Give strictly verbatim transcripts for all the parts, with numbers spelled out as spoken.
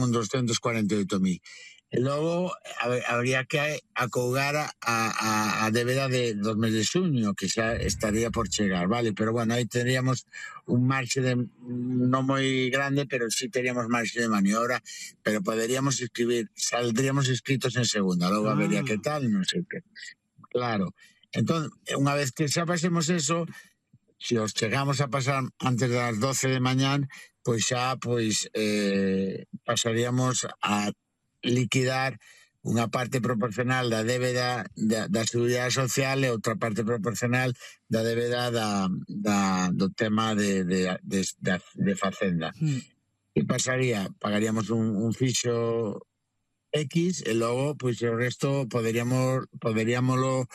un doscientos cuarenta e oito mil. E logo habría que acougar a, a, a débeda de, dos meses de xuño, que xa estaría por chegar, vale? Pero bueno, aí teríamos un marxe de, non moi grande, pero sí teríamos marxe de maniobra, pero poderíamos escribir, saldríamos inscritos en segunda, logo ah. vería que tal, non sei que. Claro. Entón, unha vez que xa pasemos eso, se os chegamos a pasar antes das doce de mañán, pois xa, pois, eh, pasaríamos a liquidar unha parte proporcional da débeda da, da Seguridade Social e outra parte proporcional da débeda da, da, do tema de, de, de, de, de Facenda. Mm. E pasaría, pagaríamos un, un fixo X e logo, pois, o resto poderíamos, poderíamoslo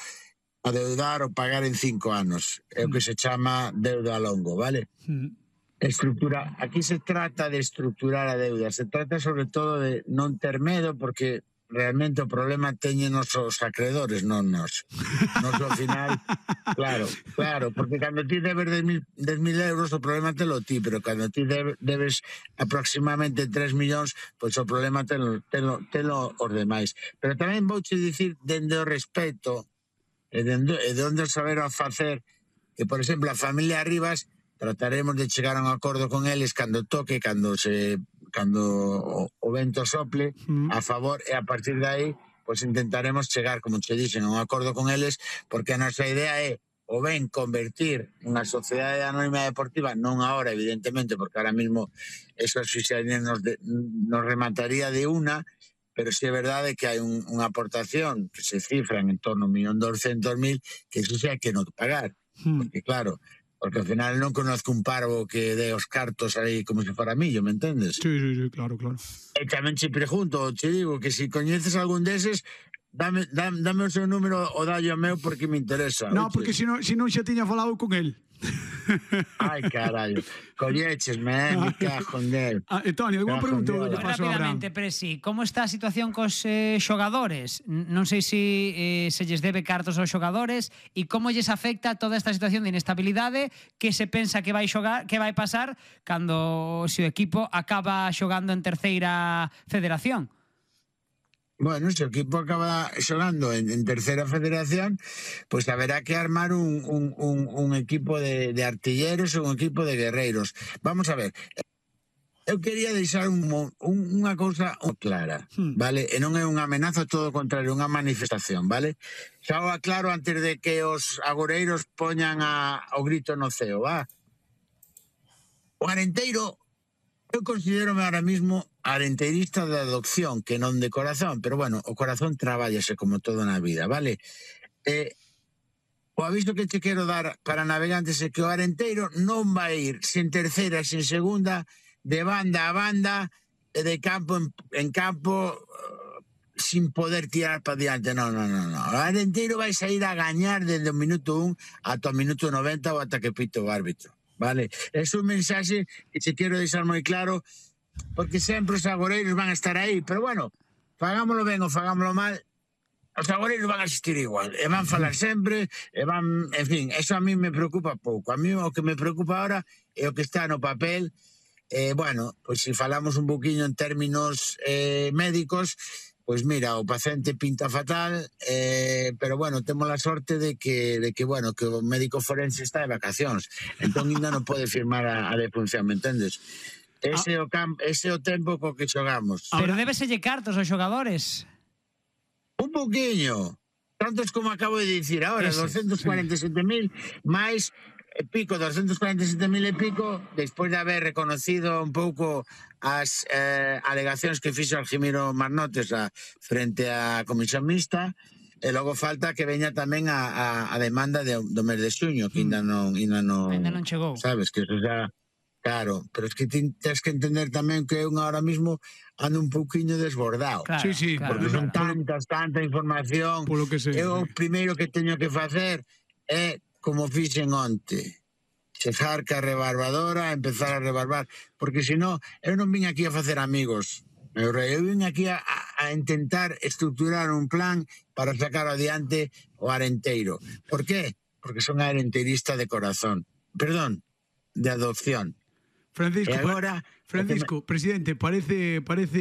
adeudar ou pagar en cinco anos. É o que se chama deuda a longo, vale? Mm. Estructura, aquí se trata de estructurar a deuda, se trata sobre todo de non ter medo, porque realmente o problema teñen os acreedores, non nos. Nos ao final, claro, claro, porque cando ti debes dez mil euros o problema te lo ti, pero cando ti debes aproximadamente tres millóns, pois o problema te lo, te lo, te lo os demais. Pero tamén vouche dicir, dende o respeto e dende, e dende o saber a facer, que, por exemplo, a familia Rivas trataremos de chegar a un acordo con eles cando toque, cando se cando o, o vento sople mm. a favor, e a partir de aí pois intentaremos chegar, como che dixen, a un acordo con eles, porque a nosa idea é o ben convertir unha sociedade anónima deportiva, non agora evidentemente, porque ahora mismo eso nos, de, nos remataría de unha, pero si é verdade que hai un, unha aportación que se cifra en torno a un millón doscientos mil, que eso xa hai que non pagar, mm. porque claro, porque ao final non conozco un parvo que dé os cartos aí como se fora millo, me entendes? Sí, sí, sí, claro, claro. E tamén che pregunto, che digo que se coñeces algún deses, dame, dame, dame o seu número o dallo meu porque me interesa. No, porque se non, se non xa tiña falado con el. Ai, carallo, colléchesme, eh, me cajo en del. Ah, Antonio, alguna pregunta? Rápidamente, Presi, como está a situación cos eh, xogadores? Non sei se eh, se lles debe cartos aos xogadores e como lles afecta toda esta situación de inestabilidade que se pensa que vai xogar, que vai pasar cando se o equipo acaba xogando en terceira federación. Bueno, se o equipo acaba xogando en, en terceira federación, pois pues haberá que armar un, un, un, un equipo de, de artilleros ou un equipo de guerreiros. Vamos a ver, eu quería deixar un, un, unha cousa clara, vale? E non é unha amenaza, todo o contrario, unha manifestación, vale? Xa o aclaro antes de que os agoreiros poñan a, o grito no ceo, va? O Arenteiro, eu considero ahora mismo arenteirista de adopción, que non de corazón, pero bueno, o corazón trabállase como todo na vida, vale? Eh, o aviso que te quero dar para navegantes é que o Arenteiro non vai ir sen terceira, sen segunda, de banda a banda, e de campo en, en campo, uh, sin poder tirar para diante, non, non, non, non. O Arenteiro vai sair a gañar desde o minuto un ata o minuto noventa ou ata que pito o árbitro, vale? É un mensaxe que te quero deixar moi claro, porque sempre os agoreiros van a estar aí, pero bueno, fagámoslo ben ou fagámoslo mal, os agoreiros van a existir igual, e van falar sempre, e van, en fin, eso a mí me preocupa pouco. A mí o que me preocupa ahora é o que está no papel. Eh, bueno, pois se falamos un poquinho en términos eh, médicos, pois mira, o paciente pinta fatal, eh, pero bueno, temos a sorte de que, de que, bueno, que o médico forense está de vacacións, entón ainda non pode firmar a, a defunción, me entendes? Ese é o campo, ese é o tempo co que xogamos. Pero débeselle cartos aos xogadores. Un poquinho. Tantos como acabo de dicir ahora, doscientos cuarenta e sete mil máis e pico, doscientos cuarenta e sete mil e pico, despois de haber reconocido un pouco as eh, alegacións que fixo Algimiro Marnotes a, frente á Comisión Mixta, e logo falta que veña tamén a, a, a demanda de, do mes de xuño, que ainda non, ainda non, ainda non chegou. Sabes, que eso xa... Claro, pero es que tens que entender tamén que eu ahora mismo ando un pouquiño desbordado. Claro, sí, sí, claro, porque claro, son claro. tantas, tanta información. Por lo que sei. Eu o primeiro que teño que facer é, como fixen onte, chegar ca rebarbadora, empezar a rebarbar, porque senón eu non vim aquí a facer amigos. Eu vim aquí a, a intentar estructurar un plan para sacar adiante o Arenteiro. Por qué? Porque son arenteirista de corazón. Perdón, de adopción. Francisco, agora, Francisco, presidente, parece parece